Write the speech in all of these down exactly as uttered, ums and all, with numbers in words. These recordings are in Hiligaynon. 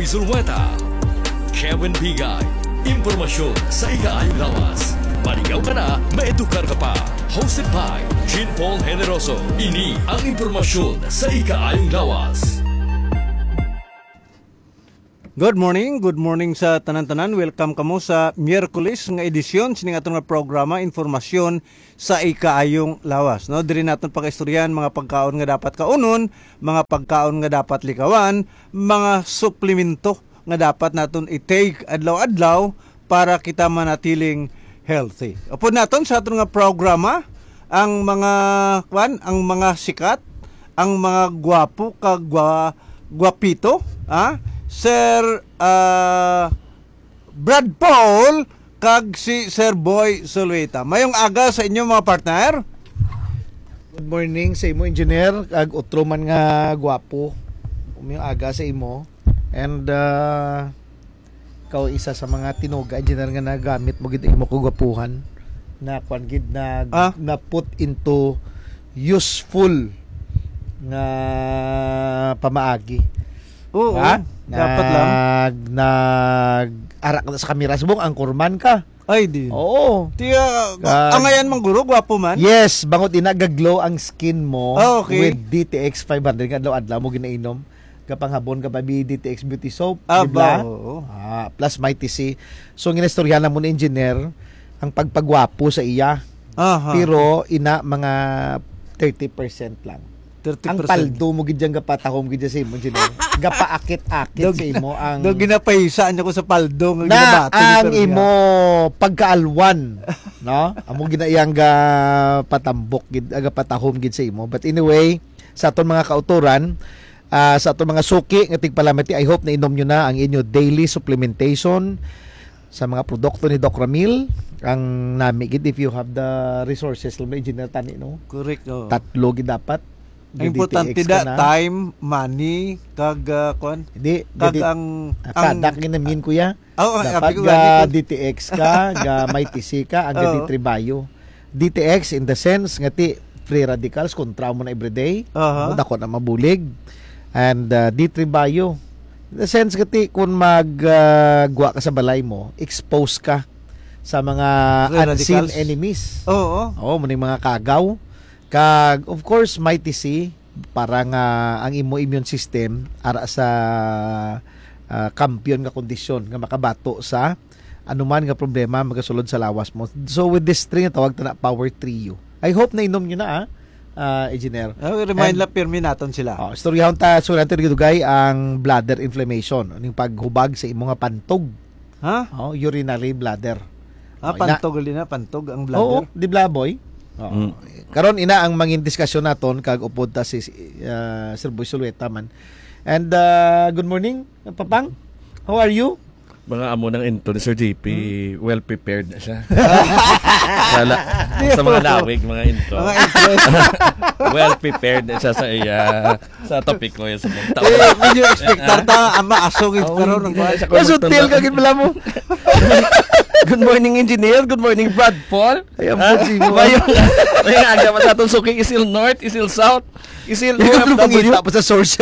Zulweta, Kevin Bigay, impormasyon sa ikaayong lawas. Maligaw ka na, maedukar ka pa. Hosted by Jean Paul Generoso. Ini ang impormasyon sa ikaayong lawas. Good morning, good morning sa tanan-tanan. Welcome kamo sa Miyerkules nga edisyon sining aton nga programa, Informasyon sa Ikaayong Lawas. No, diri naton pagaistoryahan mga pagkaon nga dapat kaunon, mga pagkaon nga dapat likawan, mga suplemento nga dapat naton i-take adlaw-adlaw para kita manatiling healthy. Upod naton sa aton nga programa ang mga, kwan, ang mga sikat, ang mga gwapo kag gwa, gwapito, ha? Sir, ah, Brad Paul kag si Sir Boy Solweta. Mayong aga sa inyo, mga partner. Good morning sa imo, engineer, kag utro man nga gwapo. Mayong aga sa imo. And uh, ikaw isa sa mga tinuga, engineer, nga nagamit mo gid imo kagwapuhan na kwan gid na, Ah? na put into useful nga pamaagi. Oo, Ha? dapat lang. Nag, nag, ara ka sa kamera. Subong, anchorman ka. Ay, di. Oo. Tiya, Kag- angayan man guro, gwapo man. Yes, bangod ina gaglow ang skin mo Ah, okay. with D T X five hundred nga adlaw-adlaw mo ginainom. Gapanghabon ka pa bi D T X Beauty Soap, Ah, di ba? ba? Oo. Ah, plus Mighty C. So, ang ginistoryahan mo ni engineer, ang pagpagwapo sa iya. Aha. Pero ina mga thirty percent lang. Ang thirty percent. Paldo mo gid dyan, gapatahom gid dyan sa imo, engineer. Gapaakit-akit Daw sa imo ang daw ginapahisaan niya ko sa paldo nga na ginabato ni ang Fermia. Imo pagkaalwan, no? Amo gid na iyang gapatambok gid, ah, gapatahom gid sa imo. But anyway, sa aton mga kautoran, ah, sa aton mga suki nga tigpalamati, I hope na inom nyo na ang inyo daily supplementation sa mga produkto ni Doc Ramil. Ang nami gid, if you have the resources, alam mo, engineer, tani, no? Correct, oo. Tatlo gid dapat. Ang importante D T X da, ka na. Time, money, kag, ah, kwan? Hindi, Kag hindi. Ang, Ah, ang kada kinamin, kuya. Oo, ang Dapat abi ko ga gani, kung D T X ka, ga may T C ka, ang ga Oo. D three Bio. D T X in the sense nga ti free radicals, kontra mo na everyday. Aha. Ano, dako na mabulig. And uh, D three Bio. In the sense nga ti, kung mag uh, gwa ka sa balay mo, expose ka sa mga Free unseen radicals. Enemies. Oo. Oo, mo mga kagaw. Kag, of course, may T C para nga ang imo immune system ara sa ah, kampiyon nga kondisyon nga makabato sa anuman nga problema magasulod sa lawas mo. So with this three, tawag ta na power trio. I hope na inom nyo na, ah, ah, engineer. Oh, remind And- lang, pirmi naton sila. Oh, istoryahon ta, sulan ta dugay ang bladder inflammation, ning paghubag sa imo nga pantog. Ha? Oh, urinary bladder. Ah, Oh, ina- pantog, uli na, pantog ang Oo, bladder. Di bla, boy? Oo. Mm. Karon, ina ang mangin diskasyon naton, kag upod ta si, si, ah, Sir Boy Sulueta man. And uh, good morning, Papang. How are you? Mga amo nang intro ni Sir J P, well prepared na siya. Wala. Sa mga lawig, mga intro. Mga intro. Well prepared na siya sa iya, sa topic ko yung sa mga tao. Eh, medyo expectar ta, ama, asong yung Oh, karon, hindi ang na siya Mas hotel ka, gid bala mo. Good morning, engineer. Good morning, Brad Paul. Ay, ang Ah, pusi mo. Mayong, mayong aga pa sa atong suki, Isil North, Isil South, Isil Ikaw O F W. Pangita pa sa source.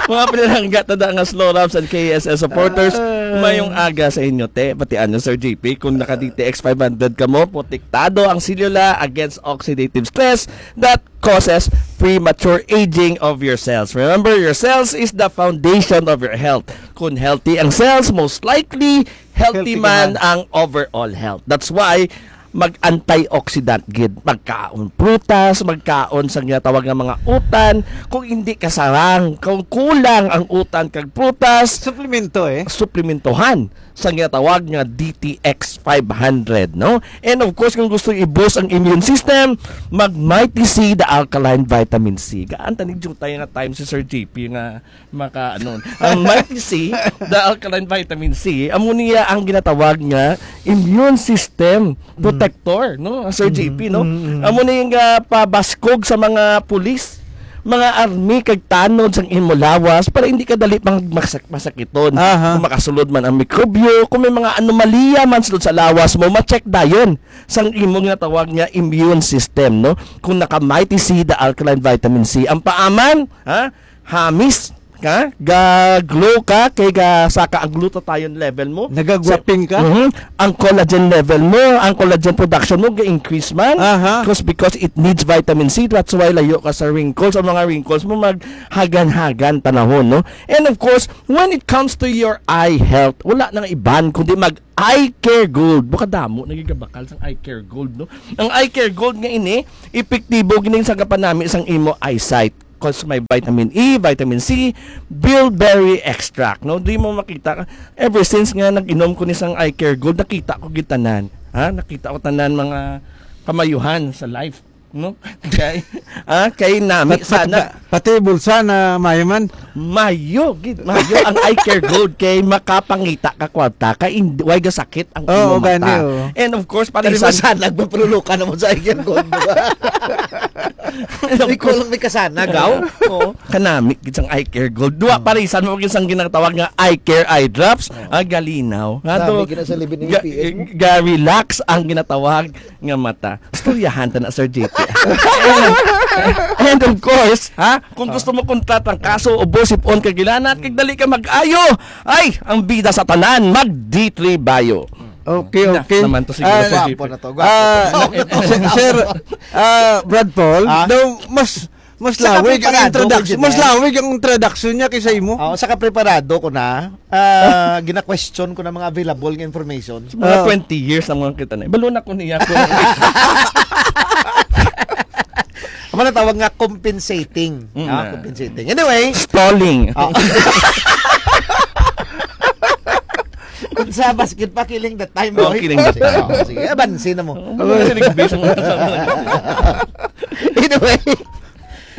Mga pinalangga, tada nga Slow Raps and K S S supporters, Ah. Mayong aga sa inyo, te. Pati ano, Sir J P, kung naka D T X five hundred ka mo, protektado ang selula against oxidative stress that causes premature aging of your cells. Remember, your cells is the foundation of your health. Kung healthy ang cells, most likely, healthy Healthy ka man man. Ang overall health. That's why, mag-antioxidant gid. Magkaon prutas, magkaon sa ginatawag nga mga utan. Kung hindi kasarang, kung kulang ang utan kag prutas, Suplemento eh. Suplementohan sa ginatawag nga D T X five hundred, no? And of course, kung gusto i-boost ang immune system, mag Mighty C, the alkaline vitamin C. Gaan tanig jutay nga time si Sir J P nga maka, ano, ang Mighty C, the alkaline vitamin C, amo niya ang ginatawag nga immune system protector, no? Sir J P, no? Mm, mm, mm. Amo niya nga pabaskog sa mga pulis, mga army kag tanod sang imo lawas para hindi ka dali pang masak-, masakiton. Aha. Kung makasulod man ang mikrobyo, kung may mga anomalya man sulod sa lawas mo, ma-check dayon sang imo nga tawag nga immune system, no? Kung naka Mighty C, the alkaline vitamin C. Ang paaman, ha? Hamis, ka, ga-glow ka, kay ga saka ang glutathione level mo. Nagagwaping ka? Mhm. Ang collagen level mo, ang collagen production mo, ga-increase man. Aha. Because, because it needs vitamin C, that's why layo ka sa wrinkles. Ang mga wrinkles mo, maghagan-hagan panahon, no? And of course, when it comes to your eye health, wala nang iban kundi mag Eye Care Gold. Baka damo nagigabakal sang Eye Care Gold, no? Ang Eye Care Gold nga ini, epektibo gini sa kapanami sang imo eyesight. 'Cause may vitamin E, vitamin C, bilberry extract, no? Di mo makita. Ever since nga nag-inom ko ni sang Eye Care Gold, nakita ko gitanan. Ha? Nakita ko tanan mga kamayuhan sa life, no? Kay, ah, kay nami Pat-, pat-, sana. pa-, pati bulsa na mayo man. Mayo, gid, mayo ang Eye Care Gold kay makapangita ka kwarta, kay ind-, way gasakit ang Oo, imo mata. Gani, oo. And of course, Kani parisan mo sana, nagpapalulukan naman sa Eye Care Gold, di ba? Ikaw lang may kasana, gaw? Oo. Kanami gid sang Eye Care Gold. Duwa, Oo. parisan mo gid sang ginatawag nga eye care eye drops. Oo. Ah, galinaw. Nga Dami to, gina sa libin ni ga-, P M. ga-relax ang ginatawag nga mata. Istoryahan ta na, Sir J P. And, and of course, ha, kung Ah. gusto mo kontra, trangkaso, ubo, sipon, kagilanat, kag dali ka mag-ayo, ay, ang bida sa tanan, mag D three Bio. Okay, Na, okay. naman to siguro, Ah, Sir Gwapo J P. na to, gwapo Ah, to. Sir, Sir, ah, Brad Paul, Ah? daw mas, mas Saka lawig ang preparado, introduction, engineer. mas lawig ang introduction niya kaysa imo. Oo, saka preparado ko na. Ah, gina-question ko na mga available nga information. Mga Ah. twenty years ang mga kita na. Balo na ko niya ko. Ang mga tawag nga compensating. Mm, Ah, na. compensating. Anyway. Stalling. Ah. Kung sa basket pa, killing the time, Oh, boy. killing the time. Oh, sige, abansi na mo. Oh, mga silig base mo sa mga Anyway,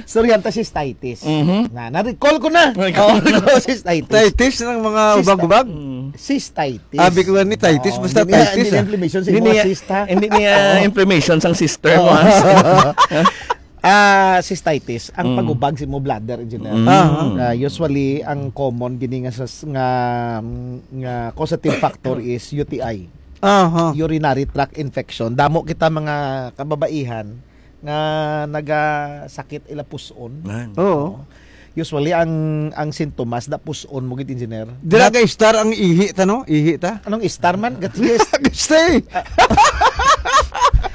Sorianta cystitis. Mhm. Na, na-recall ko na. Recall. Oh, recall cystitis. Cystitis ng mga Cysti- ubag-ubag? Mm. Cystitis. Abi ko nga ni cystitis, Oo, basta hindi niya, cystitis, hindi niya ah. inflammation sa Hindi imo, niya, cyst, ha? hindi niya Oo. inflammation sang sister mo, Oo. ha? Ah, cystitis, ang Mm. pag-ubag sa imo bladder, engineer. Mm. Ah. Ah, usually, ang common gini nga sa, nga, nga causative factor is U T I. Aha. Urinary tract infection. Damo kita mga kababaihan nga nagasakit ila pus-on. Man. Oo. Usually, ang, ang sintomas, da pus-on mo gid, engineer. Dira Nat- ga-star ang ihi ta, no? Ihi ta? Anong star man? Gatis. Gusto eh.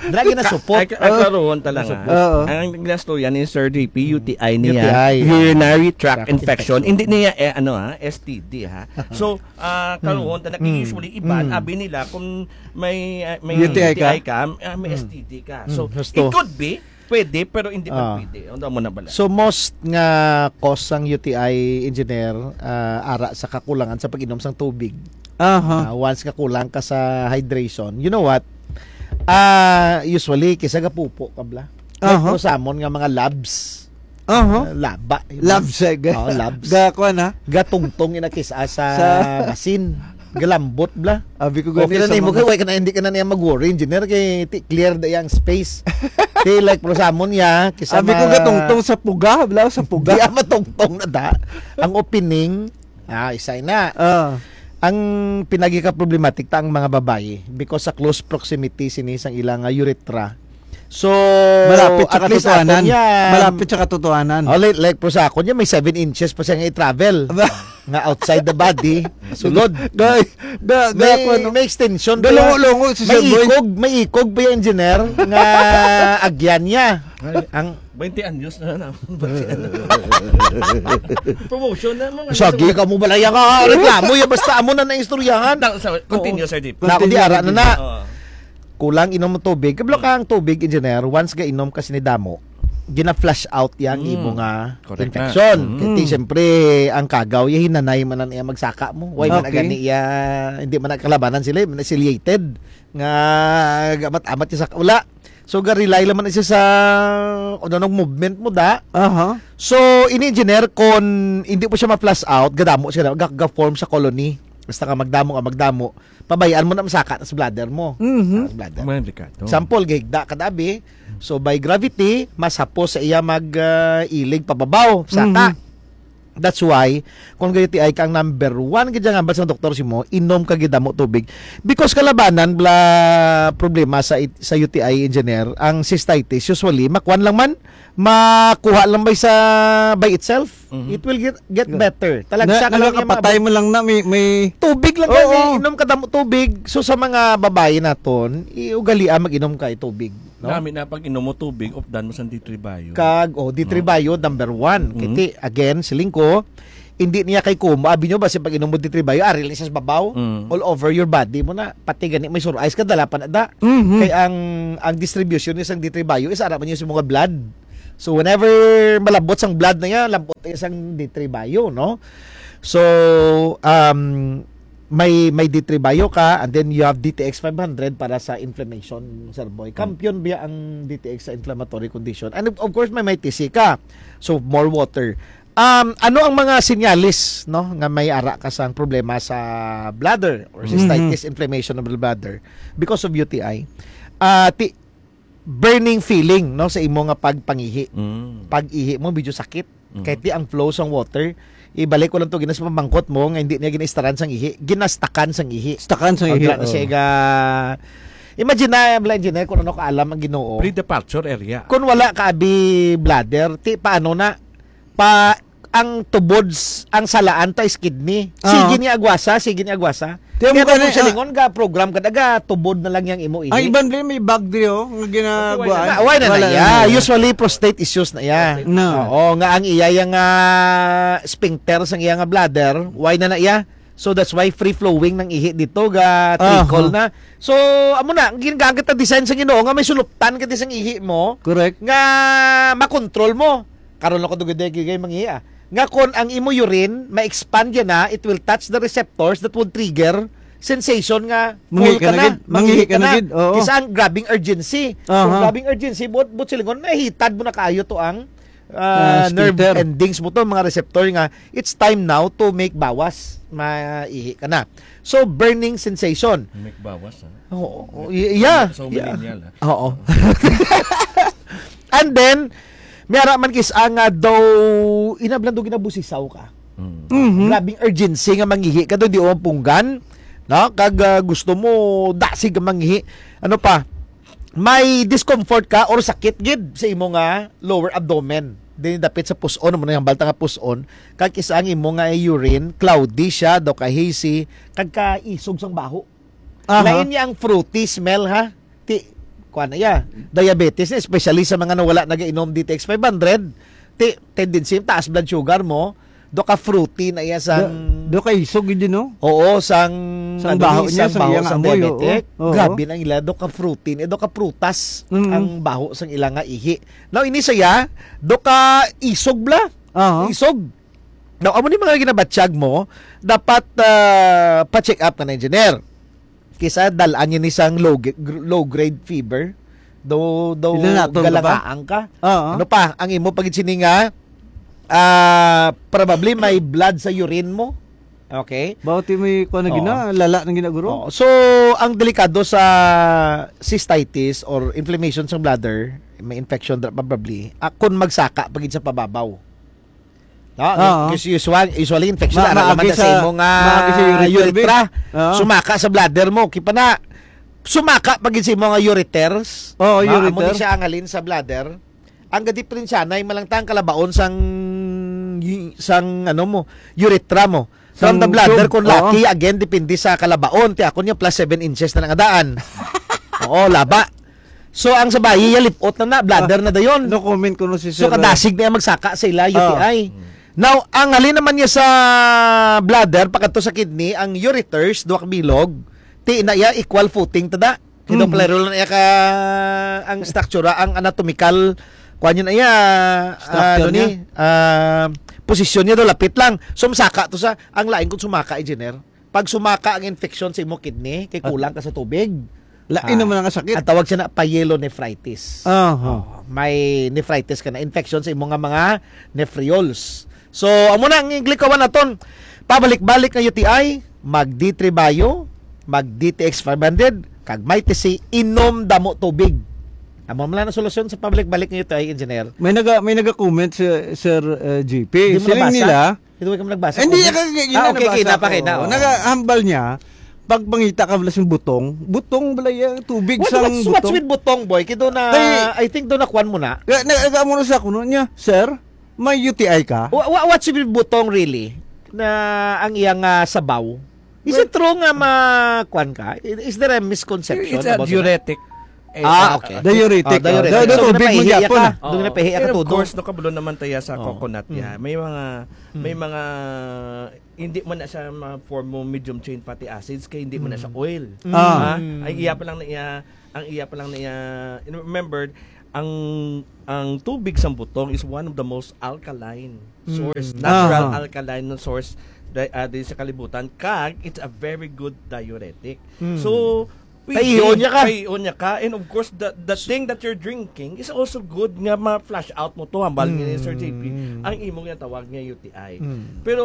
Dira ginasupot. Ay, ay, klaruhon ta lang, ha. Oo. Ang ginastorya ni Sir J P, U T I niya, U T I. urinary tract Tract infection. infection. Hindi niya, eh, ano, ha, S T D, ha. So, ah, Mm. karon, ta, Mm. usually, iban, Mm. abi nila, kung may, ah, may U T I ka? U T I ka, ah, may Mm. S T D ka. Mm, So, husto. it could be, pwede, pero hindi pa Ah. pwede. Ano mo na bala? So, most nga cause sang U T I, engineer, ah, ara sa kakulangan sa pag-inom sang tubig. Aha. Ah, once nga kulang ka sa hydration, you know what? Ah, usually, kisa gapupo ka, bla. May Aha. Prosamon nga mga labs. Aha. Ah, laba. Labs, eh, ga-, Oh, labs. ga-, kuwan, ha? Gatungtong ina kis-a sa Sa basin. Galambot, bla. Abi ko Okay gani na sa nimo mga kay, way ka na, hindi ka na niya mag-worry, engineer, kay ti-, clear da yang space. Kay, like, Prosamon ya, kisa Abi ko ma- gatungtong sa puga, bla, sa puga. Di, ah, matungtong na da. Ang opening, ah, isa na. Ah. Ang pinagika-problematic ta ang mga babayi because sa close proximity sini sang ilang, ah, urethra. So, Malapit sa at least katotohanan. aton yan. Malapit sa katotohanan. Oh, like, like, po sa akon yan, may seven inches pa siya nga i-travel. Nga outside the body, sulod. Ga-, ga-, May, ga-, ano? may extension pa yan. Galungo-lungo si May Sir Boy. ikog, may ikog pa yung engineer nga agyan niya. Ay, Ang twenty anyos na lang. Promotion na mga Sagi ka mo balaya nga reklamo ya, basta amo na naistoryahan. Na, sa, continue, Oo. Sir Deep. Na, kundi Continue, ara na Sir na. Deep. Oo. Kulang inom mo tubig. Kablo ka ang tubig, engineer, once ga inom ka sinidamo, gina-flush out yang Mm. imo nga Correct na. infection. Mm. Kaya, siyempre, ang kagaw, ya hinanay man na iya magsaka mo. Why man Okay. agani iya, hindi man na kalabanan sila, man na ciliated. Nga, gamat-amat yung saka. Wala. So, ga-rely lang man siya sa, ano, nung movement mo, da. Aha. So, ini, engineer, kung hindi po siya ma-flush out, gadamo siya, ga-, ga-form sa colony. Basta ka magdamo, ka magdamo, pabayaan mo na masaka na sa bladder mo. Mhm. Sa bladder. May delikado. Example, gihigda ka, dabi. So, by gravity, mas hapos sa iya mag, ah, ilig pababaw, saka. Mhm. That's why, kung ang U T I ka, ang number one gid ang hambal sang doktor sa imo, inom ka gid damo tubig. Because kalabanan bala problema sa it-, sa U T I, engineer, ang cystitis usually makuan lang man, makuha lang ba sa by itself? Mhm. It will get, get Ga- better. Talagsa Na, ka lang yung mga nagkakapatay bu- mo lang na may, may tubig lang Oo. Kasi, inom ka damo tubig. So sa mga babae naton, iugalia mag-inom ka tubig, no? Nami na pag inom mo tubig, updan mo sang D three Bio. Kag, oh, D three No. Bio, number one. Mm. Kiti, again, siling ko, hindi niya kay kumo. Abi nyo ba, sa pag inom mo D three Bio, aril niya sa babaw, Mm. all over your body mo na. Pati gani, may sore eyes ka, dala pa na da. Mhm. Kay ang, ang distribution niya sang D three Bio is ara man niya sa mga blood. So, whenever malabot sang blood na yan, labot na sang D three Bio, no? So, um, may, may D three Bio ka, and then you have D T X five hundred para sa inflammation, Sir Boy. Hmm. Kampiyon biya ang D T X sa inflammatory condition. And of, of course, may, may T C ka. So, more water. Um, ano ang mga sinyalis, no, nga may ara ka sang problema sa bladder or Mhm. cystitis, inflammation of the bladder because of U T I? Ah, ti-, burning feeling, no, sa imo nga pagpangihi. Mm. Pag-ihi mo, medyo sakit. Mm. Kahit di ang flow sang water, ibalik ko lang to, ginas pamangkot mo, nga hindi niya ginaistaran sang ihi, ginastakan sang ihi. Stakan sang Ang ihi, gra-, oh. siya ga-, imagine na, Bla Engineer, kung ano kaalam ang Ginoo. Pre-departure area. Kung wala ka abi bladder, ti, paano na? Pa, ang tubod, s-, ang salaan ta is kidney. Ah. Sige ni agwasa, sige ni agwasa. Tiyan mo Kaya ka kung ni, sa ah, lingon ka, program ka, daga, tubod na lang yang imo ihi. Ang iban din, may bag di, oh, nga ginagawa. Wala na, wala na, Wala na. na. Usually, prostate issues na iya. No. Oo, nga ang iya yang, ah, sphincter sang iya nga bladder, why na na iya? So, that's why free-flowing ng ihi dito, ga Aha. trickle na. So, amo na, ang ginagamit na design sa Ginoo nga may suluptan ka di sang ihi mo, Correct. nga makontrol mo. Karon ako dugay-dugay mangihi, ah. Nga kon ang imo urine, ma-expand yan na, it will touch the receptors that would trigger sensation nga Mangihi full ka ka na na, gid. Mangihi mangihi ka ka na na. gid, oo. Kisa ang grabing urgency. Aha. Kung grabing urgency, but, but silingon, nahitad mo na kaayo to ang, ah, Ah, nerve sphincter. endings mo to, mga receptor nga, it's time now to make bawas. Maihi ka na. So, burning sensation. Make bawas, ha? Oo, oo, y-, yeah, So, yeah. millennial, ha? Oo. And then, may ara man kis-a nga daw, inablan daw ginabusisaw ka. Mm. Mhm. Grabing urgency nga mangihi ka daw, di mo punggan, no? Kag, ah, gusto mo, dasig ka mangihi. Ano pa? May discomfort ka or sakit gid sa imo nga lower abdomen. Dili dapit sa puson, mo na yung balta nga puson. Kag kis-a ang imo nga urine, cloudy siya, daw ka hazy, kag kaisog sang baho. Aha. Lain niya ang fruity smell, ha? Ti, kuwan na iya. Diabetes, especially sa mga nawala nagainom D T X five hundred, ti, tendency, taas blood sugar mo, do ka fruity na iya sang Do, do ka isog yun, no? Oo, sang, Sang ano baho ni, niya, sang sang baho iyang sang amoy, diabetic. oo. Oo. Grabe na ila, do ka fruity ni, do ka prutas Mm. ang baho sang ila nga ihi. Now, ini saya, do ka isog bla. Aha. Isog. Now, amo ni mga ginabatyag mo, dapat, ah, pa-check up ka na, engineer. Kisa dal-an yun isang low, gr-, low grade fever. Do, do Sila naton ka ba? galangaang ka. Oo. Ano pa? Ang imo pagid sini nga, ah, probably may blood sa urine mo. Okay? Bawat yung may kuha na Oo. gina, lala na ginaguro. Oo. So, ang delikado sa cystitis or inflammation sa bladder, may infection dra-, probably, ah, kung magsaka pagid sa pababaw. No? Oo. Kasi usual-, usually infection Ma-, na maagi sa sa, imo nga maagi sa ureter, urethra. Oo. Sumaka sa bladder mo. Kipa na, sumaka pagid sa imo nga ureters. Oo, No? Amo ureter. ni siya ang halin sa bladder. Ang gadiperensya na yung malangtang kalabaon sang, sang ano mo, uretra mo. From Sang the bladder, tube. kung Oo. laki, again, depende sa kalabaon. Ti ako niya, plus seven inches na lang ang daan. Oo, laba. So, ang sa bayi, ya, lipot na na, bladder Ah, na dayon. no comment kuno si So, Sir, kadasig niya magsaka sa ila, Oo. U T I. Now, ang halin naman niya sa bladder, pagkadto sa kidney, ang ureters, duha ka bilog, ti na iya equal footing, tada. Kaya Mhm. palaro lang iya ka, ang structure, ang anatomical, kuwan yun iya, Structure ano ni, niya. ah, posisyon niya do, lapit lang. So, masaka to sa, ang lain kung sumaka, engineer. Pag sumaka ang infection sa imo kidney, kay At kulang ka sa tubig. Lain Ah, naman ang sakit. Ang tawag siya na pyelonephritis. Aha. Oh, may nephritis ka na, infection sa imo nga mga nephrioles. So, amo na ang likawan naton. Pabalik-balik nga U T I, mag D three Bio, mag D T X five hundred, kag may T C, inom damo tubig. Amo man lang ang solusyon sa pabalik-balik nga U T I, engineer. May naga-, may naga-comment si Sir, uh, G P. Di mo Siling nabasa? nila, Ito ka nagbasa. Hindi, ko, ka, ka, ah, okay, okay, nabasa napakita, ko. Oo. Nagahambal niya, pag mangita ka bala sing butong, butong bala yung tubig What, sang what's, what's butong? With butong, boy? Kay do na, Kay I think do na kwan mo na. Kaya, na, nag-amo na sa kuno niya, "Sir, may U T I ka?" Wha-, wha-, what's with butong, really? Na ang iyang, ah, sabaw? Is it true nga ma-, kwan ka? I-, is there a misconception It's a about that? Diuretic. Eh, Ah, ah, okay. Diuretic. Oh, diuretic. Oh, So, tubig mo napahiya gyapon. ka. Oh. Doon napahiya ka And of todo. course, no, kabalo naman tayo sa Oh. coconut Mm. niya. May mga, may Mm. mga, hindi man na siya ma-form mo medium chain fatty acids, kay hindi man na siya Mm. oil. Mm. Ah. Ha? Ang iya pa lang na iya, ang iya pa lang na iya, remember, ang, ang tubig sa butong is one of the most alkaline source, Mm. natural Aha. alkaline na source di, ah, di sa kalibutan, kag it's a very good diuretic. Mm. So, pwede, Paihion niya ka. paihion niya ka. And of course, the, the thing that you're drinking is also good nga ma-flush out mo to, hambal ni Sir J P, Mm. ang imo nga tawag nga U T I. Mm. Pero,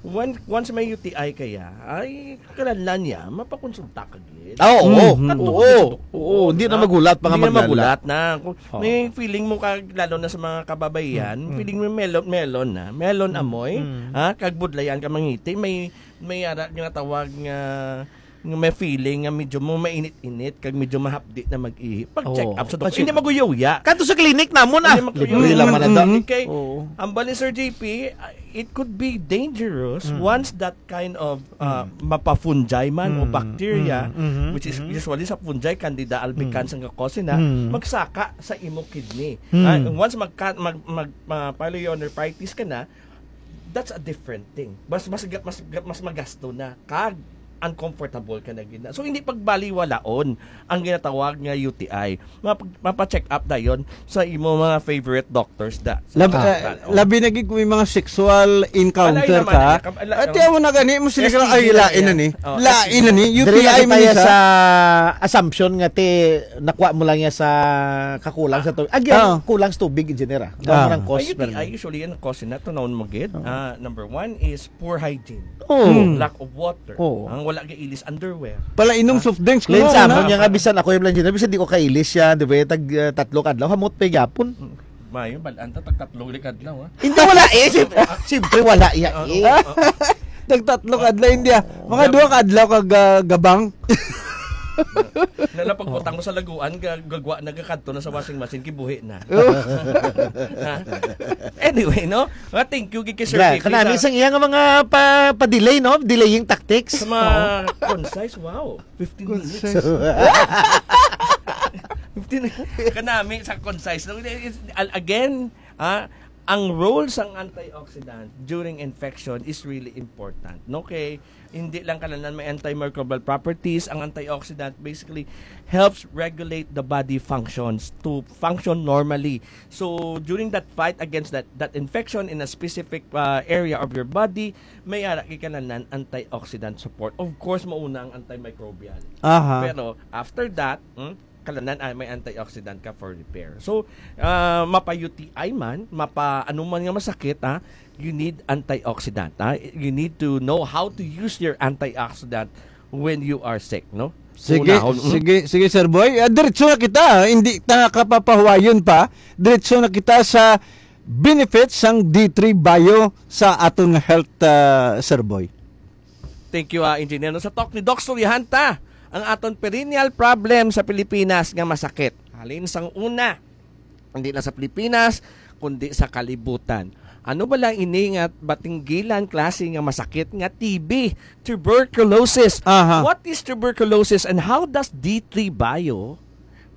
when, once may U T I kaya, ay, kinahanglan niya, mapakonsulta ka gid. Ah, oo. Mhm. Adto Oo. ka sa doktor, Oo, hindi na ha? magulat, mga Hindi na maglala. magulat na. Kung Oo. may feeling mo ka, lalo na sa mga kababaihan, Mm, mm. feeling mo melon, melon na. Melon Mm, amoy, mm. ha? Kag budlayan ka mangiti, may, may ara ginatawag nga, nga may feeling nga medyo mo mainit-init, kag medyo mahapdi na mag-ihi. Pag-check Oo. up sa doktor. Pag-check Hindi up. maguyuya. Kanto sa clinic namon, ah. Hindi maguyuya. Libre lang man ang Mm, dami. mm. Kay, Oo. ang bali, Sir J P, ah, it could be dangerous Mm. once that kind of, uh, Mm. mapa-fungi man o Mm, bacteria, mm, mhm, which is mhm. usually sa fungi, Candida albicans Mm. ang kakos na, Mm. magsaka sa imo kidney. Mm. Ah, once magka-, mag-, mag-, ma-, pyelonephritis ka na, that's a different thing. Mas, mas, ga-, mas, ga-, mas magasto na. Kag uncomfortable ka na gid na. So, hindi pagbaliwalaon ang ginatawag nga U T I. Map-, mapa-check up dayon sa imo mga favorite doctors da. Sa Lab-, hospital. eh, Oh. labi na gid kung may mga sexual encounter Ala, yun naman, ka. eh, kam-, ala, Ate, oh. amo na gani, mo sila S T D ay, na lain na yan. ni. Oh, Lain S T D. na ni. Diri U T I lang man kita ini sa sa assumption nga ti nakuha mo lang niya sa kakulang sa tubig. Again, Ah. kulang sa tubig, engineer, ah. Ang Ah. mga Ay, cause, U T I, pero usually, ang cause na, tanawon mo gid. Oh. Ah, number one is poor hygiene. Oh. Hmm. Lack of water. Oh. Ang wala kay ilis underwear. Pala inom Ah. soft drinks ko Len, na, sa na. amon niya nga, bisan ako yung engineer, bisan di ko kailis siya, di ba? Tag, uh, tatlo kadlaw, hamot pa gyapon. Mm. Mayo, bal-an ta, tag tatlo ulit kadlaw, ha? Hindi, wala eh. Siyempre, siyempre wala iya Oo, eh. oo, oo. Tag tatlo kadlaw, hindi ah. Mga Gab- duha kadlaw kag, ah, gabang. Na, na pag-utang mo sa laguan, ga-, gagwa na, gakadto na sa washing machine, kibuhi na. Oh. Ha? Anyway, no? Nga, thank you, gid kay Sir Gra-, P P, kanami sa sang iya nga mga pa-, pa-delay, no? Delaying tactics. Sa mga Oo. concise, wow. Fifteen minutes. Concise. Fifteen, kanami sa concise. No? It's, al-, again, ah, ang role sang antioxidant during infection is really important. No? Kay hindi lang kalanan may antimicrobial properties, ang antioxidant basically helps regulate the body functions to function normally. So, during that fight against that, that infection in a specific, uh, area of your body, may ara kay kalanan antioxidant support. Of course, mauna ang antimicrobial. Aha. Pero after that, hmm, kalanan ay may antioxidant ka for repair. So, ah, mapa-U T I man, mapa ano man nga masakit, ha, you need antioxidant, ha? You need to know how to use your antioxidant when you are sick, no? Sige, Unahon, mm. sige, sige, Sir Boy. Ah, diretso na kita, ah. Hindi ta kapapahuwayon pa. Diretso na kita sa benefits sang D three Bio sa aton nga health, ah, Sir Boy. Thank you, ah, Engineer. No, sa talk ni Doc, istoryahan ta ang aton perennial problem sa Pilipinas nga masakit. Halin sang una, hindi lang sa Pilipinas, kundi sa kalibutan. Ano bala ini nga batinggilan klase nga masakit nga T B, tuberculosis? Aha. What is tuberculosis and how does D three Bio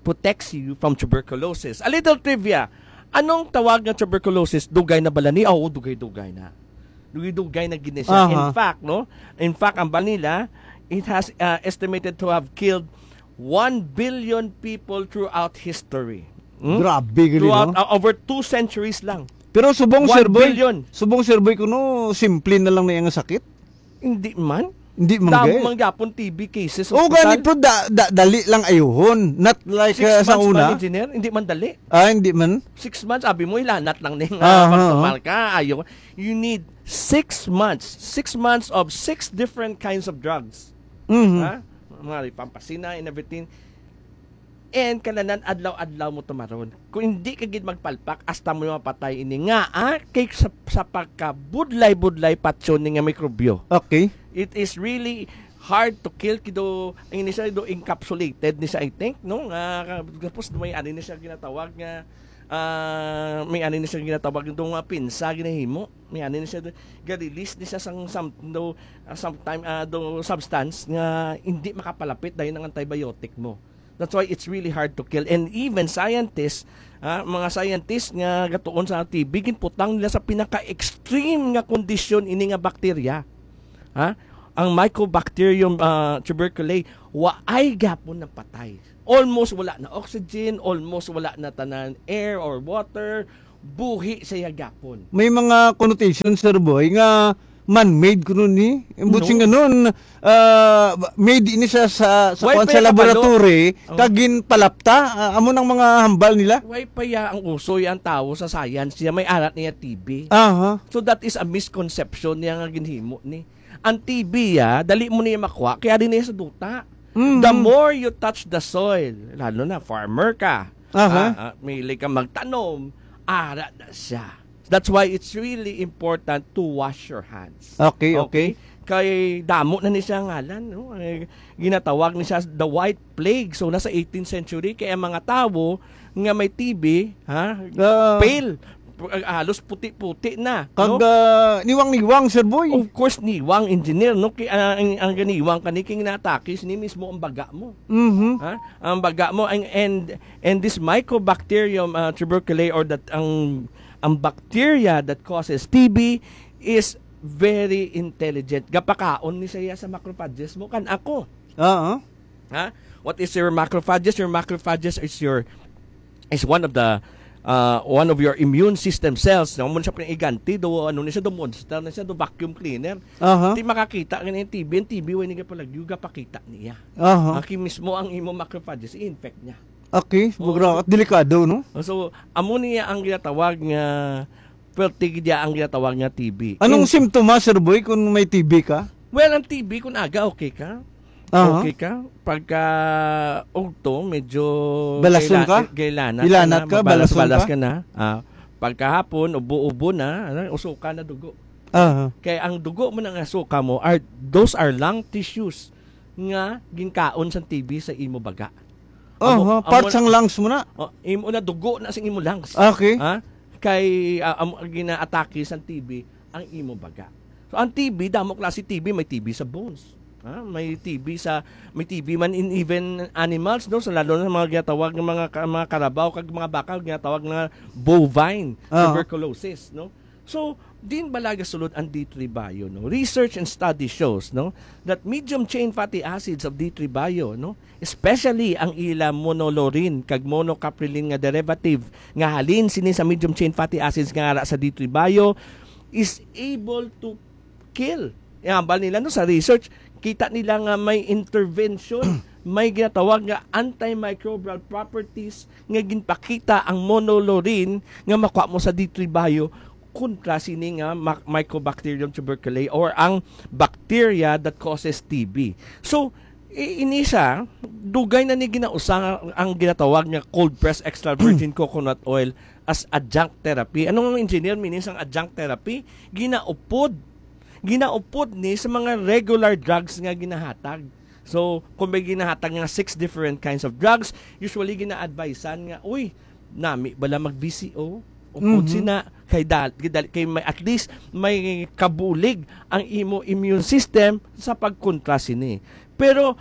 protects you from tuberculosis? A little trivia. Anong tawag nga tuberculosis? Dugay na bala ni? Oo, dugay-dugay na. Dugay-dugay na gid ni siya. In Aha. fact, no? In fact, ang balila, it has, uh, estimated to have killed one billion people throughout history. Hmm? Grabe gid, Throughout, no? uh, over two centuries lang. Pero subong, One Sir Boy, billion. subong, Sir Boy, kuno simple na lang na iyang sakit? Hindi man. Hindi man, Damo gay. man gyapon T B cases sa Oh, ospital. gani, pero da-, da-, dali lang ayuhon. Not like, Six uh, sa months pa, una. Engineer? Hindi man dali. Ah, hindi man. Six months, abi mo, ilanat lang ni nga Ah, ah, magtumal ah. ka. Ayaw. You need six months. Six months of six different kinds of drugs. Mhm. Ha? Mga rifampicin and everything. And kananan adlaw-adlaw mo tumaron. Kung hindi ka gid magpalpak, hasta mo mapatay ini nga, ah, kay sa, sa pagkabudlay-budlay patyon ni nga mikrobyo. Okay. It is really hard to kill kido, ang ini siya do encapsulated ni siya, I think, no? Nga, tapos may ani ni siya ginatawag nga, ah, may ani ni siya ginatawag do nga pinsa ginahimo. May ani ni siya do, ga-release ni siya sang, some, do, ah, sometime, ah, do substance nga hindi makapalapit dahil ang antibiotic mo. That's why it's really hard to kill. And even scientists, ah, mga scientists nga gatuon sa T B, ginputang nila sa pinaka-extreme nga kondisyon ini nga bakterya. Ha? Ang Mycobacterium, ah, tuberculosis, waay gyapon napatay. Almost wala na oxygen, almost wala na tanan air or water, buhi siya gyapon. May mga connotation, Sir Boy, nga man-made kuno ni. Imbot No. sing ganun, ah, made ini sa, sa, sa Why kuwan, pa sa yung kabalo? laboratory, Oh. kag ginpalapta, ah, amo nang mga hambal nila. Why pa ya ang uso ya ang tawo sa science niya may arat niya T B? Aha. So that is a misconception niya nga ginhimo ni. Ang T B ya, dali mo niya makuha, kaya din niya sa duta. Mhm. The more you touch the soil, lalo na farmer ka, Aha. ah, ah, mahilig ka magtanom, ara na siya. That's why it's really important to wash your hands. Okay, okay. Kay damo na ni siya ngalan, no? Eh, ginatawag ni siya the white plague. So, nasa eighteenth century, kaya ang mga tawo nga may T B, ha? Ah. Pale. Pu-, ah, halos puti-puti na, Kag, no? ah, niwang-niwang, Sir Boy. Of course, niwang, engineer, no? Ki-, ah, ang, ang ganiwang kani, kay ginatake sini mismo ang baga mo. Mhm. Ha? Ang baga mo, ang, and, and this Mycobacterium, ah, tuberculosis, or that, ang, ang bacteria that causes T B is very intelligent. Gapakaon ni siya sa macrophages mo. Kan ako. Oo. Ha? What is your macrophages? Your macrophages is your, is one of the, uh, one of your immune system cells. Nga mo siya pinaganti, do, ano ni siya, do monster na siya, do vacuum cleaner. Aha. Di makakita nga yung T B, yung T B, way ni palagyo, gapakita niya. Aha. Aki mismo ang imo macrophages, i-infect niya. Okay, Oo. Bugra, at delikado, no? So, amo niya ang ginatawag nga pwerte gid ya ang ginatawag nga T B. Anong In- simptomas, Sir Boy, kung may T B ka? Well, ang T B, kung aga, okay ka. Aha. Okay ka. Pagka ugto, medyo Balason gaila-, ka? gailanat Ilanat ka, ka, mabalas-balas balason ka? ka na. Ah, pagkahapon, ubo-ubo na, ano, usuka na dugo. Aha. Kaya ang dugo mo nang asuka mo are, those are lung tissues nga ginkaon sang T B sa imo baga. Aha, Amo, part amo sang lungs mo na. Oh, imo na dugo na sing imo lungs. Okay. Ha? Kay, ah, amo, ginaatake sang T B ang imo baga. So, ang T B, damo klase T B, may T B sa bones. Ha? May T B sa, may T B man in even animals, no? Sa lalo na mga ginatawag ng mga ka-, mga karabaw kag mga baka, ginatawag na bovine Ah. tuberculosis, no? So, din bala gasulod ang D three Bio, no? Research and study shows, no, that medium chain fatty acids of D three Bio, no, especially ang ila monolaurin kag monocaprilin nga derivative nga halin sini sa medium chain fatty acids nga ara sa D three Bio, is able to kill. Ihambal nila, no, sa research, kita nila nga may intervention, may ginatawag nga antimicrobial properties nga ginpakita ang monolaurin nga makuha mo sa D three Bio kontra sini nga mac-, Mycobacterium tuberculosis or ang bacteria that causes T B. So, i-, ini siya, dugay na ni ginausa ang ginatawag nga cold press extra virgin coconut oil as adjunct therapy. Ano nga engineer meaning sang adjunct therapy? Ginaupod. Ginaupod ni sa mga regular drugs nga ginahatag. So, kung may ginahatag nga six different kinds of drugs, usually gina-advisean nga, "Uy, nami bala mag V C O?" O kung Mhm. sina, kay dal-, kay dal-, kay may, at least may kabulig ang imo immune system sa pagkontra sini. Pero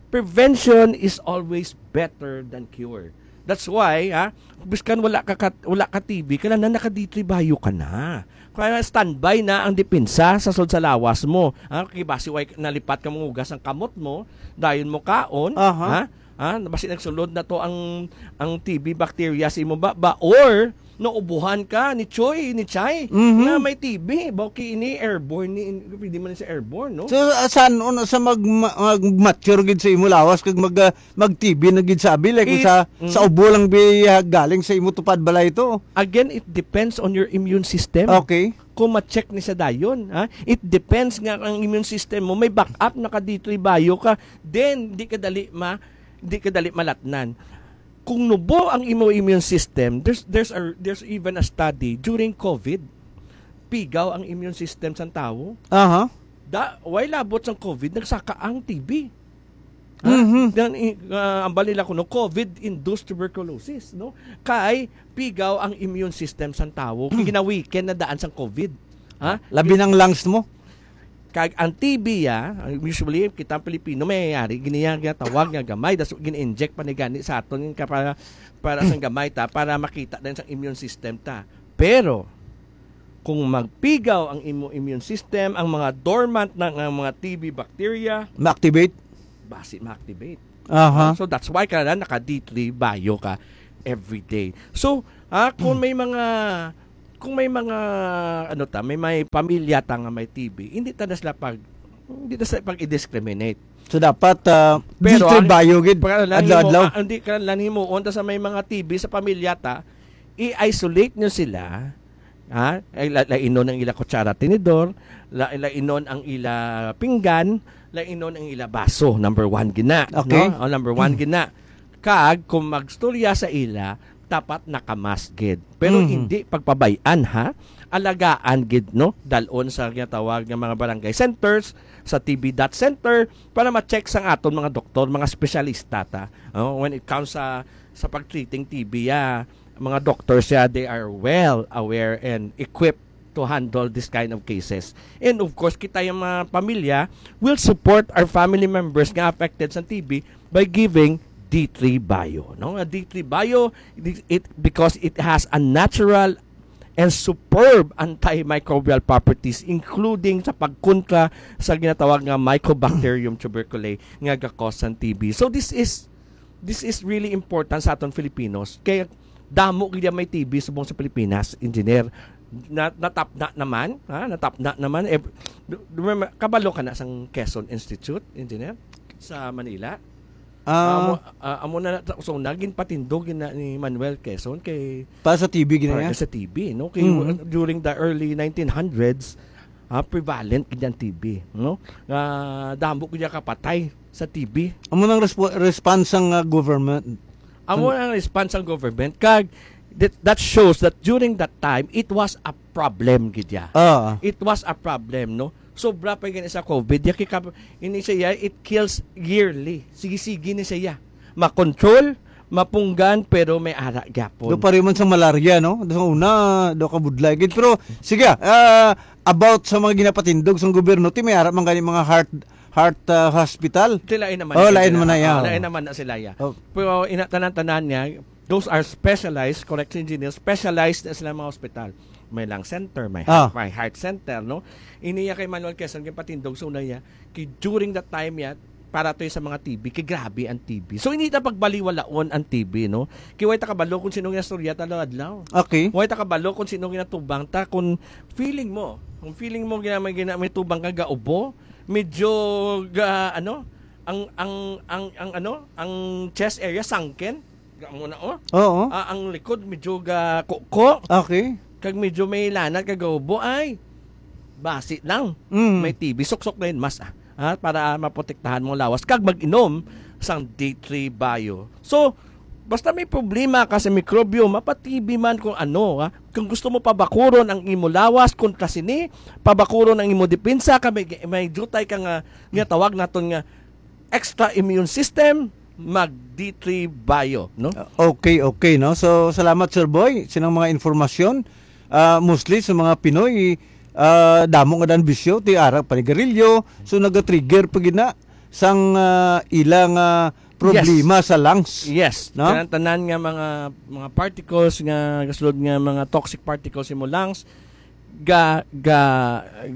prevention is always better than cure. That's why, ha, biskan wala ka, ka, wala ka T B, kailangan naka D three Bio ka na. Kaya standby na ang depensa sa sud sa lawas mo. Ha, kay basi way nalipat ka mangugas ang kamot mo, dayon mo kaon, Aha. ha? Ha, basi nagsulod na to ang, ang T B bacteria sa imo baba, or naubuhan ka ni Choy, ni Chay, Mhm. na may T B. Bawki ini airborne ni, pwede man sa airborne, no? So, ah, saan, ano, sa mag-, ma-, mag-mature gid sa imo lawas, kag mag, ah, mag-T B na gid sabi, like, It, sa, mm. sa ubo lang bi, ah, galing sa imo tupad balay ito. Again, it depends on your immune system. Okay. Kung ma-check ni sa dayon, ha? It depends nga ang immune system mo, may backup na ka D three Bio ka, then di ka dali ma-, di ka dali malatnan. Kung nubo ang imo immune system, there's there's a there's even a study during COVID, pigaw ang immune system sang tawo. Aha. Da, way labot sang COVID, nagsaka ang T B. Ha? Mhm. Dan, i- ah, ang balila ko, no, COVID-induced tuberculosis, no? Kay pigaw ang immune system sang tawo. Kay ginaweaken na daan sang COVID. Ha? Labi ng lungs mo. Kag ang T B, ah, usually, kita ang Pilipino, may nangyayari, giniya, ginatawag nga gamay, das gin-inject pa ni gani sa aton, ka para, para sa gamay ta, para makita din sa immune system ta. Pero, kung magpigaw ang imo immune system, ang mga dormant na nga mga T B bacteria, Ma-activate. basi ma-activate. Aha. So that's why ka na naka D three bio ka every day. So, ah, kung may mga kung may mga ano ta, may may pamilya ta nga may T B, hindi ta na sila pag hindi ta sila pag i-discriminate. So dapat uh, Pero D three ang- bio gid Pagka lang adlaw-adlaw. himo, ah, hindi ka lang himuon ta sa may mga T B sa pamilya ta, i-isolate nyo sila. Ha? Ay, la, lainon ang ila kutsara tinidor, la, lainon ang ila pinggan, lainon ang ila baso. Number one gina. Okay. No? O, number one gina. Kag kung magstorya sa ila, dapat nakamask gid. Pero Mhm. hindi pagpabay-an, ha? Alagaan gid, no? Dalon sa ginatawag nga mga barangay centers, sa T B dot center, para ma-check sang aton mga doktor, mga espesyalista ta. No? When it comes sa sa pag-treating T B, ah, mga doctors siya, they are well aware and equipped to handle this kind of cases. And of course, kita yung mga pamilya will support our family members nga affected sa T B by giving D three Bio, no? A D three Bio, it, it- because it has a natural and superb antimicrobial properties, including sa pagkontra sa ginatawag nga Mycobacterium tuberculosis nga gakos sa T B. So this is this is really important sa aton Filipinos. Kay damo gid may T B subong sa Pilipinas, engineer. Na, natapna naman, ha? Natapna naman. Eh, du- du- kabalo ka na sang Quezon Institute, engineer, sa Manila? Ah, Amo, ah, amo na, so, naging patindog na ni Manuel Quezon kay para sa T B gina para niya. Sa T B, no? Kay, Mm. During the early nineteen hundreds, ah, prevalent gid ang T B, no? Nga damo gid kapatay sa T B. Amo nang respo- response sang uh, government. Amo ang response sang government kag that, that shows that during that time it was a problem gid ya. Ah. It was a problem, no? Sobra pa gani sa COVID. Ya kay kap- ini siya, it kills yearly. Sige-sige ni siya. Ma-control, mapunggan, pero may ara gyapon. Do pareho man sa malaria, no? Do sa una, do ka budlay gid. Pero sige, ah, about sa mga ginapatindog sang gobyerno, ti may ara man gani mga heart heart ah, hospital. Ti lain naman Oh, na lain sila. man na, yeah. Oh, lain naman na sila, ya. Oh. Pero ina tanan-tanan niya, those are specialized, correct, engineer, specialized na sila mga hospital. May lung center, may, Ah. may heart center, no? Ini ya kay Manuel Quezon, kay patindog sa una ya, kay during that time ya, para to sa mga T B, kay grabe ang T B. So, hindi ta pagbaliwalaon ang T B, no? Kay way ta kabalo kung sino nga istorya ta adlaw. Okay. Way ta kabalo kung sino nga natubang ta, kung feeling mo, kung feeling mo gina, may, gina, may tubang ka gaubo, medyo ga, ano, ang ang ang ang ano, ang chest area sunken, amo na, oh. Oo. Ah, ang likod medyo ga kuko, Okay. kag medyo may lanat kag gaubo, ay basi lang. Mm. May T B, suksok na yun mas, ah, ha, para maprotektahan mo lawas kag mag-inom sang D three Bio. So, basta may problema ka sa mikrobyo, mapa-T B man kung ano, ha? Kung gusto mo pabakuron ang imo lawas kontra sini, pabakuron ang imo depensa, ka may, may jutay ka nga, nga tawag naton nga extra immune system, mag D three Bio, no? Okay, okay, no? So, salamat, Sir Boy, sinang mga informasyon. Ah, mostly sa mga Pinoy, ah, damo nga dan bisyo, ti ara panigarilyo, so nagatrigger pa gid na sang ah, ila nga problema sa lungs. Yes. No? Kanang tanan nga mga mga particles nga gasulod nga mga toxic particles sa imo lungs ga ga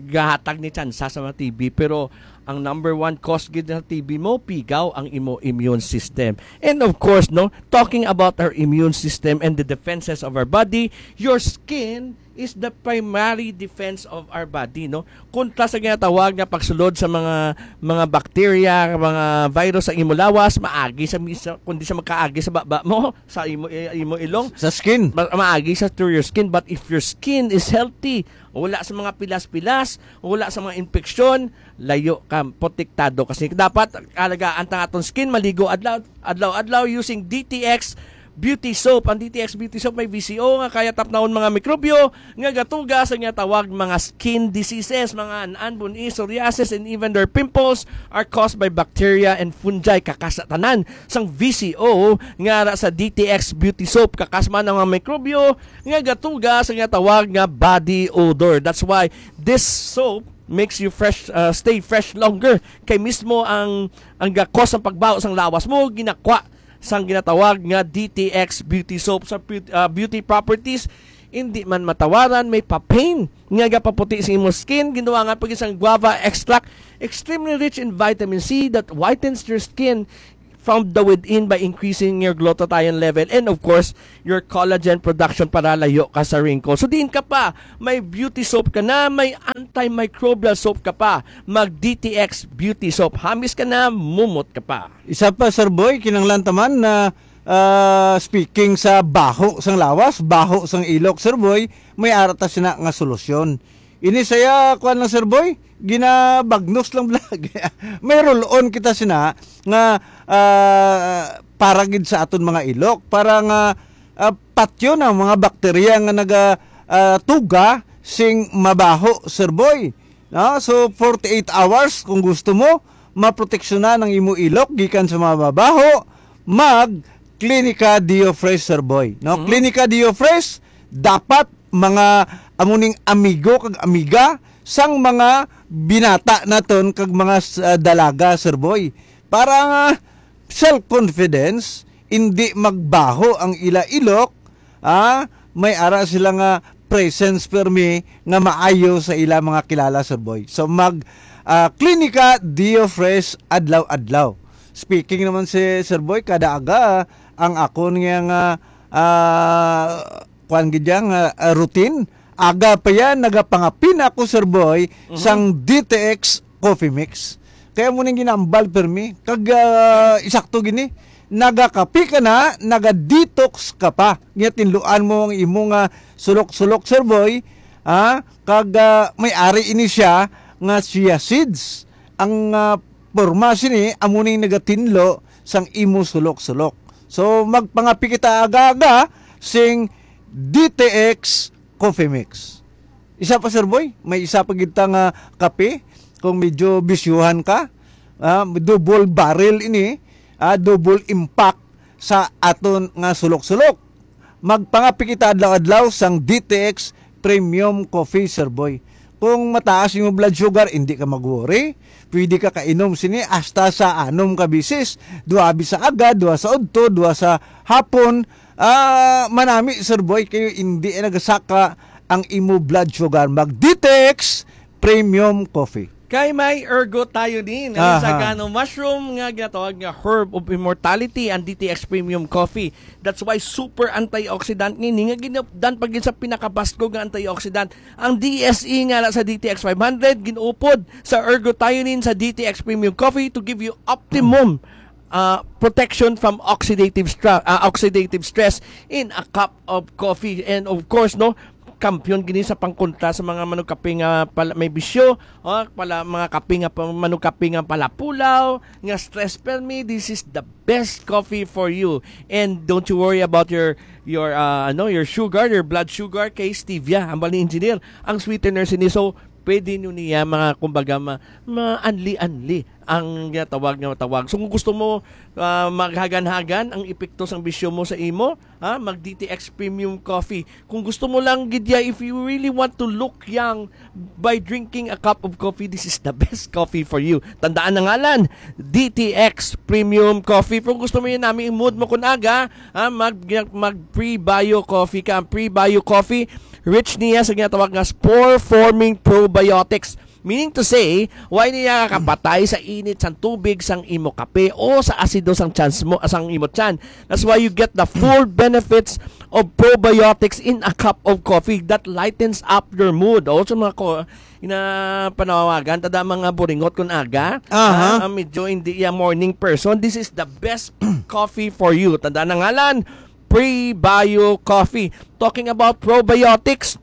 gahatag ni tsansa sa mga T B, pero ang number one cause gid sa T B mo pigaw ang imo immune system. And of course, no, talking about our immune system and the defenses of our body, your skin is the primary defense of our body, no? Kontra sa ginatawag nga pagsulod sa mga mga bacteria, mga virus sa imo lawas, maagi sa, sa kundi sa magkaagi sa baba mo, sa imo imo ilong, Sa skin. ma- maagi sa through your skin. But if your skin is healthy, wala sa mga pilas-pilas, wala sa mga infeksyon, layo ka, protektado kasi dapat alagaan ta atong skin, maligo adlaw adlaw-adlaw using D T X Beauty soap. Ang D T X Beauty Soap may V C O nga kaya tapnawon mga mikrobyo nga gatuga sa ginatawag mga skin diseases, mga an-an, bun-i, psoriasis, and even their pimples are caused by bacteria and fungi. Kakas na tanan sang V C O nga ara sa D T X Beauty Soap. Kakas man ang mga mikrobyo nga gatuga sa ginatawag nga body odor. That's why this soap makes you fresh, uh, stay fresh longer. Kay mismo ang, ang gakos ang pagbaho sang lawas mo, ginakwa sang ginatawag nga D T X Beauty Soap. Sa beau-, ah, beauty properties, hindi man matawaran, may papain nga gapaputi sa imong skin, ginuwangan pa gid sang guava extract, extremely rich in vitamin C that whitens your skin from the within by increasing your glutathione level and, of course, your collagen production para layo ka sa wrinkle. So diin ka pa, may beauty soap ka na, may antimicrobial soap ka pa, mag D T X Beauty Soap. Hamis ka na, mumot ka pa. Isa pa, Sir Boy, kinanglan ta man na, ah, speaking sa baho sang lawas, baho sang ilok, Sir Boy, may ara ta sina nga solusyon. Ini saya, kuwan lang, Sir Boy, ginabagnos lang bala. May roll-on kita sina nga, ah, para gid sa aton mga ilok, para nga, ah, patyon ang mga bakterya nga naga, ah, tuga sing mabaho, Sir Boy. No? So, forty-eight hours, kung gusto mo, maproteksyonan ang imo ilok gikan sa mga mabaho, mag Clinica Dio Fresh, Sir Boy. No? Mhm. Clinica Dio Fresh, dapat mga amuning amigo kag amiga sang mga binata naton kag mga s-, ah, dalaga, Sir Boy. Para nga self-confidence, hindi magbaho ang ila ilok, ah, may ara sila nga presence permi nga maayo sa ila mga kilala, Sir Boy. So, mag, ah, Klinika Dio Fresh adlaw-adlaw. Speaking naman si Sir Boy, kada aga, ang akon nga, nga, ah, kuwan gid yan, nga, ah, routine. Aga pa yan, nagapangapin ako, Sir Boy, Mhm. sang D T X Coffee Mix. Kaya mo ning ginambal, permi. Kag, ah, isakto gini, nagakapi ka na, naga-detox ka pa. Nga tinluan mo ang imo nga sulok-sulok, Sir Boy, ah, kag, ah, may ari ini siya nga chia seeds. Ang, ah, porma sini, amo ning nagatinlo sang imo sulok-sulok. So, magpangapi kita aga-aga sing D T X Coffee Mix. Isa pa, Sir Boy, may isa pa gid ta nga kape. Kung medyo bisyuhan ka, ah, double barrel ini, ah, double impact sa aton nga sulok-sulok. Magpangapi kita adlaw-adlaw sang D T X Premium Coffee, Sir Boy. Kung mataas yung blood sugar, hindi ka mag-worry. Pwede ka kainom sini hasta sa anom ka bisis. Duha bi sa aga, duha sa udto, duha sa hapon. Ah, manami, Sir Boy, kayo hindi nagasaka ang imo blood sugar. Mag D T X Premium Coffee. Kay may ergothioneine, ang Aha. sagano mushroom nga ginatawag nga herb of immortality, ang D T X Premium Coffee. That's why super antioxidant ngini nga ginapdan pa gid sa pinakabaskog nga antioxidant. Ang D S E nga na sa D T X five hundred, ginupod sa ergothioneine sa D T X Premium Coffee to give you optimum, ah, protection from oxidative stra-, ah, oxidative stress in a cup of coffee. And of course, no, kampiyon gini sa pangkontra sa mga manugkape nga pala, may bisyo, o pala, mga kape nga pa, manugkape nga palapulaw, nga stress permi. This is the best coffee for you. And don't you worry about your, your, ah, ano, your sugar, your blood sugar, kay stevia, ang bali engineer, ang sweetener sini. So, pwede nyo niya mga, kumbaga, ma-, ma-anli-anli ang ginatawag nga tawag. So, kung gusto mo, ah, maghagan-hagan ang epekto sang bisyo mo sa imo, ha, mag D T X Premium Coffee. Kung gusto mo lang gid ya, if you really want to look young by drinking a cup of coffee, this is the best coffee for you. Tandaan ang ngalan, D T X Premium Coffee. Kung gusto mo yun, nami mood mo kun aga, ha, mag, mag Prebio Coffee ka. Ang Prebio Coffee, rich niya sa ginatawag nga spore-forming probiotics. Meaning to say, why niya kapatay sa init sang tubig sang imo kape o sa asido sang chance mo, sang imo tiyan. That's why you get the full benefits of probiotics in a cup of coffee that lightens up your mood. O, sa mga ko, ina panawagan, tada mga buringot kun aga, Aha. ah, ang medyo hindi ya morning person, this is the best coffee for you. Tanda na ngalan, Prebio Coffee. Talking about probiotics,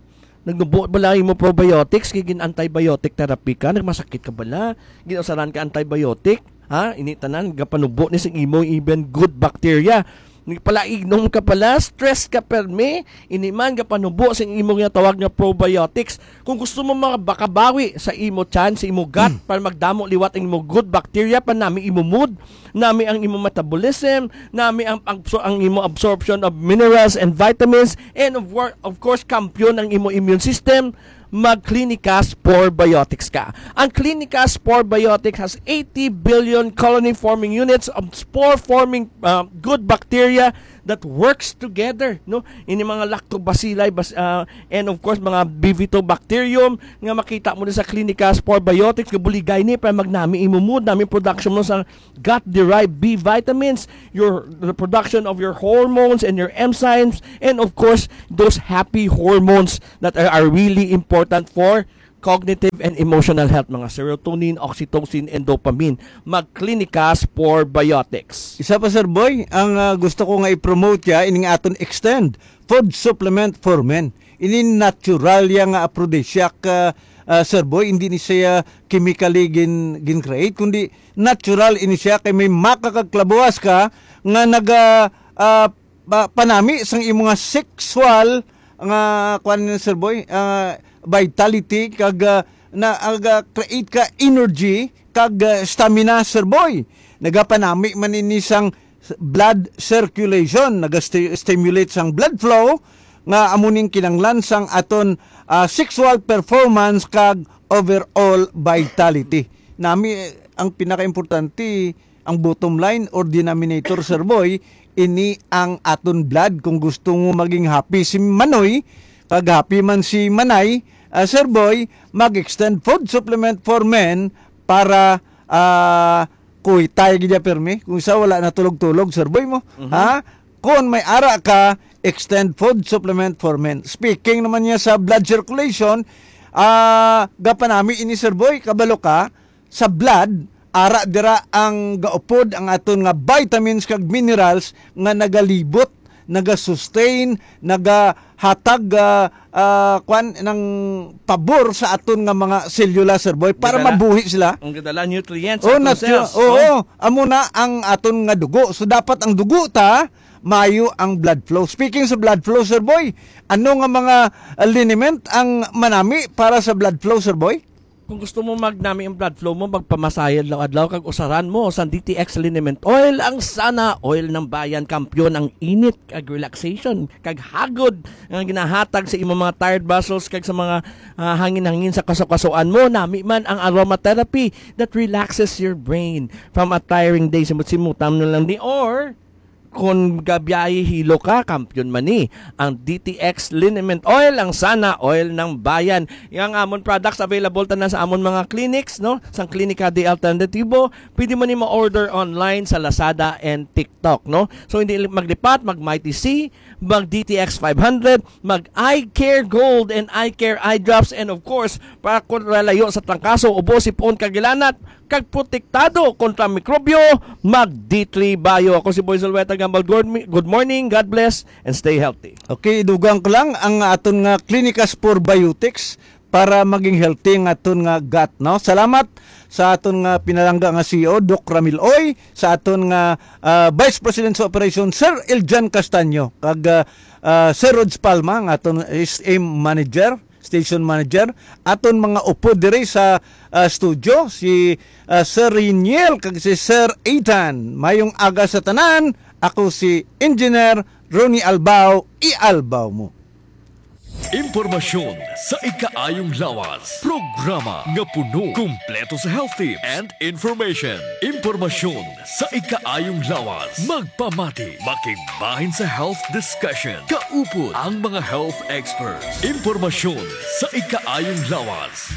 nagnubo bala imo probiotics, kay gin-antibiotic therapy ka, nagmasakit ka bala, gin-usaran ka antibiotic, ha? Ini tanan, gapanubo ni sing imo, even good bacteria. Nagpalainom ka pala, stress ka permi, ini man gapanubo sing imo nga tawag nga probiotics. Kung gusto mo makabawi sa imo tiyan, sa imo gut, para magdamo liwat ang imo good bacteria, panami imo mood, nami ang imo metabolism, nami ang, ang, ang imo absorption of minerals and vitamins, and of, wor- of course, kampiyon ang imo immune system, mag Clinicas Probiotics ka. Ang Clinicas Probiotics has eighty billion colony-forming units of spore-forming, uh, good bacteria that works together, no? Ini mga lactobacilli, bas-, uh, and of course, mga bifidobacterium nga makita mo din sa Clinicas Probiotics, gabuligay ni para magnami imo mood, nami production mo sa gut-derived B vitamins, your, the production of your hormones and your enzymes, and of course, those happy hormones that are, are really important for cognitive and emotional health, mga serotonin, oxytocin, and dopamine. Mag Clinicas Probiotics. Isa pa, Sir Boy, ang, ah, gusto ko nga i-promote ya, ining aton Extend Food Supplement for Men. Ini natural ya nga aphrodisiac, ah, ah, Sir Boy, hindi ni siya chemically gin-, gin-create, kundi natural ini siya, kay may makakagklabuhas ka nga naga, ah, ba, panami sang imo nga sexual nga, kuwan ni Sir Boy, ah, vitality kag, ah, na, aga-create ka energy kag, ah, stamina, Sir Boy. Nagapanami man ini sang blood circulation, naga-stimulate sang blood flow nga amo ning kinahanglan sang aton, ah, sexual performance kag overall vitality. Nami, eh, ang pinakaimportante, ang bottom line or denominator, Sir Boy, ini ang aton blood. Kung gusto mo maging happy si Manoy, kag happy man si Manay, ah, Sir Boy, mag-extend food supplement for men para, ah, kuwitay gid ya pirmi. Kung isa wala na tulog-tulog, Sir Boy mo. Mhm. Ha? Kung may ara ka, extend food supplement for men. Speaking naman niya sa blood circulation, ah, gapanami ini, Sir Boy, kabalo ka, sa blood, ara dira ang gaupod ang aton nga vitamins kag minerals nga nagalibot, nagasustain, nagahatag, ah, ah, kwan, ng pabor sa aton nga mga selula, Sir Boy, para Gadala. mabuhi sila. Ang gadala, nutrients sa Oh, aton natu-, cells, oo, no? Amo na ang aton nga dugo. So, dapat ang dugo ta, mayo ang blood flow. Speaking sa blood flow, Sir Boy, ano nga mga, ah, liniment ang manami para sa blood flow, Sir Boy? Kung gusto mo magnami ang blood flow mo, magpamasahe adlaw-adlaw kag usaran mo sang D T X liniment oil, ang Sana Oil ng Bayan. Kampiyon ang init kag relaxation kag hagod nga ginahatag sa imong mga tired muscles kag sa mga, ah, hangin-hangin sa kasukasuan mo. Nami man ang aromatherapy that relaxes your brain from a tiring day. Simot-simot mo lang ni, or kung gabiyahe hilo ka, kampiyon man ni ang D T X liniment oil, ang Sana Oil ng Bayan. Yang amon products available tanan sa amon mga clinics, no? Sang Klinika de Alternativo, pwede man ni ma-order online sa Lazada and TikTok, no? So, hindi li-, maglipat, mag Mighty C, mag D T X five hundred, mag Eye Care Gold and Eye Care Eye Drops, and of course, para kontra layo sa trangkaso, ubo, sipon, kag hilanat, kag protektado kontra mikrobyo, mag D three Bio. Ako si Boy Zulueta Gambal. Good mi-, good morning, God bless, and stay healthy. Okay, idugang ko lang ang aton nga Clinicas Probiotics para maging healthy ang aton nga gut, no? Salamat sa aton nga pinalangga nga C E O, Doc Ramil Oy, sa aton nga, ah, Vice President sa Operation, Sir Eljan Castaño, kag, ah, ah, Sir Rods Palma, ang aton S M Manager, Station Manager, aton mga upod diri sa, ah, studio, si, ah, Sir Riniel kag si Sir Ethan. Mayong aga sa tanan. Ako si Engineer Ronnie Albao. I-Albao mo. Impormasyon sa ikaayong lawas. Programa nga puno, kumpleto sa health tips and information. Impormasyon sa ikaayong lawas. Magpamati, makigbahin sa health discussion. Kaupod ang mga health experts. Impormasyon sa ikaayong lawas.